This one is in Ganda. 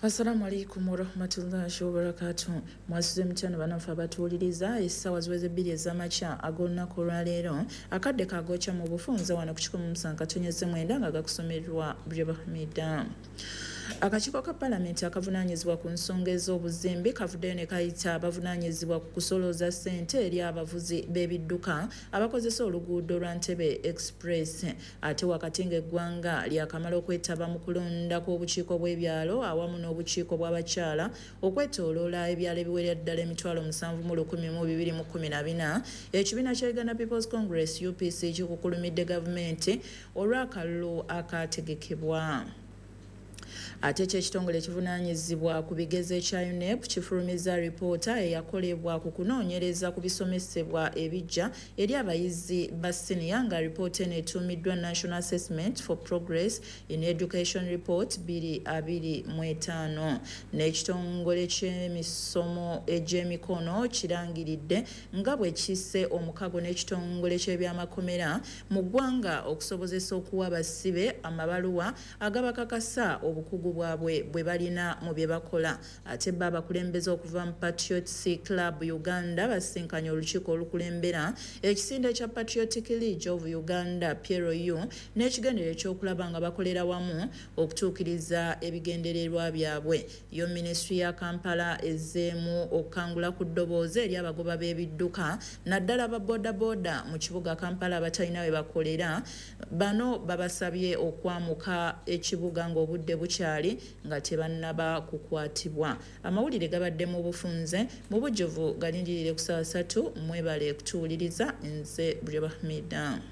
Assalamu alaikum warahmatullahi wabarakatuh. Mwasuze mutya banaffe abatuwuliriza? Essaawa ziweze 2 ez'amakya ag'olunaku olwaleero, akadde kagokya mu bufunze wano ku 107.9 nga gakusomerwa Bribahmida. Akakiiko ka palamenti akavunaanyizibwa ku nsonga ez'obuzimbi kavuddeyo ne kayita abavunaanyizibwa ku kusolooza ssente eri abavuzi b'ebidduka abakozesa oluguudo lwa Ntebe Express. Ate wakati ng'eggwanga lyakamala okwetaba mu kulonda kw'obukiiko bw'ebyalo awamu n'obukiiko bw'abakyala okwetooloola ebyalo ebiwerera ddala 7,214, ekibiina kya Uganda People's Congress UPC kikukulumidde gavumenti olw'akalulu akaategekebwa. Ate ky'ekitongole ekivunaanyizibwa ku bigezo ekya UNEB kifulumizza alipoota eyakolebwa ku kunoonyereza ku bisomesebwa ebijja eri abayizi ba siniya, nga alipoota eno etuumiddwa National Assessment for Progress in Education Report 2025. N'ekitongole ky'emisomo egy'emikono kirangiridde nga bwe kisse omukago n'ekitongole ky'ebyamakomera mu ggwanga okusobozesa okuwa abasibe amabaluwa agabakakasa obukugu bwabwe bwe balina mu bye bakola. Ate bo abakulembeze okuva mu Patriots Club Uganda basinkanye olukiiko olukulembera ekisinde kya Patriotic League of Uganda PLU n'ekigendererwa ekyokulaba nga bakolera wamu okutuukiriza ebigendererwa byabwe. Yo minisitule ya Kampala ezzeemu okukangula ku ddoboozi eri abagoba b'ebidduka naddala ba bodaboda mu kibuga Kampala abatalina we bakolera. Bano babasabye okwamuka ekibuga ng'obudde bukyali nga tebannaba kukwatibwa. Amawulire gabadde mu bufunze mu bujjuvu, galindirire ku ssaawa 3. Mwebale kutuwuliriza. Nze Bribahmida.